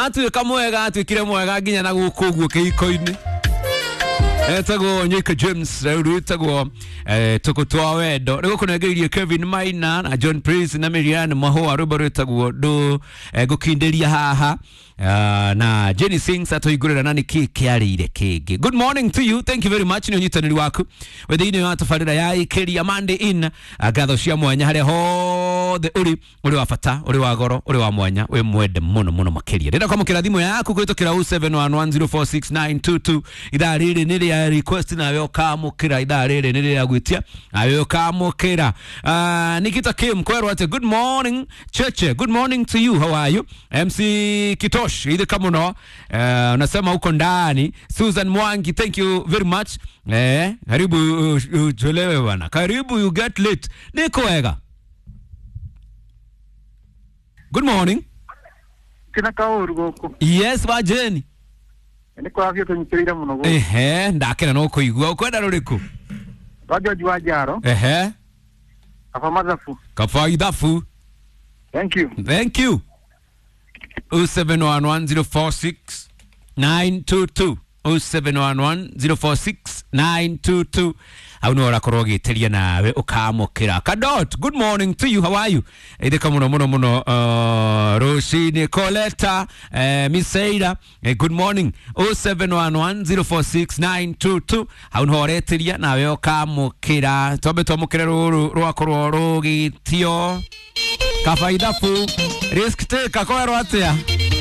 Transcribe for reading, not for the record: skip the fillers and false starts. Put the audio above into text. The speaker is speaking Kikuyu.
Atuĩka mwega, atuĩkire mwega nginya na gũkũ ũguo kĩhiko-inĩ. Etagwo Nyika James, rĩu rwĩtagwo tũkũ twa wendo. Rĩu gũkũnengereirie Kevin Maina na John Prince na Miriam Mahũa, rwĩmbo rwĩtagwo ndũ ngũkindĩria haha. Na Jenny Sings atũhingũrĩra na nĩkĩ kĩarĩire kĩngĩ. Good morning to you, thank you very much nĩ ũnyitanĩri waku wĩ thĩinĩ wa tabarĩra ya Ĩkĩria Monday in. Ngatho cia mwanya harĩa hothe ũrĩ, ũrĩ wa bata, ũrĩ wa goro, ũrĩ wa mwanya, wĩ mwende mũno mũno makĩria. Ndĩrenda kwamũkĩra thimũ yaku kũhĩtũkĩra 0711046922. Ithaa rĩrĩ nĩ rĩa request, nawe ũkamũkĩra. Ithaa rĩrĩ nĩ rĩa gwĩtia, nawe ũkamũkĩra. Nikita Kim kwerwo atĩ good morning Cheche, good morning to you, how are you? MC Kitosh, ithika mũno, unasema uko ndani. Susan Mwangi, thank you very much. Karibu uchelewe bwana, karibu you get late. Niko wega. Good morning. Kina kaũru gũkũ. Yes, wa Jane. Nĩ kũrathiĩ tũnyitĩrĩire mũno gũkũ. Ehe, ndakena no kũigua. Ũkwenda rũrĩkũ? Rwa George wa Njaro. Ehe. Kaba mathabu. Kaba ithabu. Thank you. Thank you. 0711046922, 0711046922, hau nä ũrakorwo ũgĩtĩria nawe ũkamũkĩra. Kadot, good morning to you, how are you? Ithĩka mũno mũno mũno, rũcinĩ. Coleta, Miseira, good morning. 0711046922, hau nĩho ũretĩria nawe ũkamũkĩra. Twambe twamũkĩre rũrũ rwakorwo rũgĩtio, kaba ithabu, risk taker, kwerwo atĩa?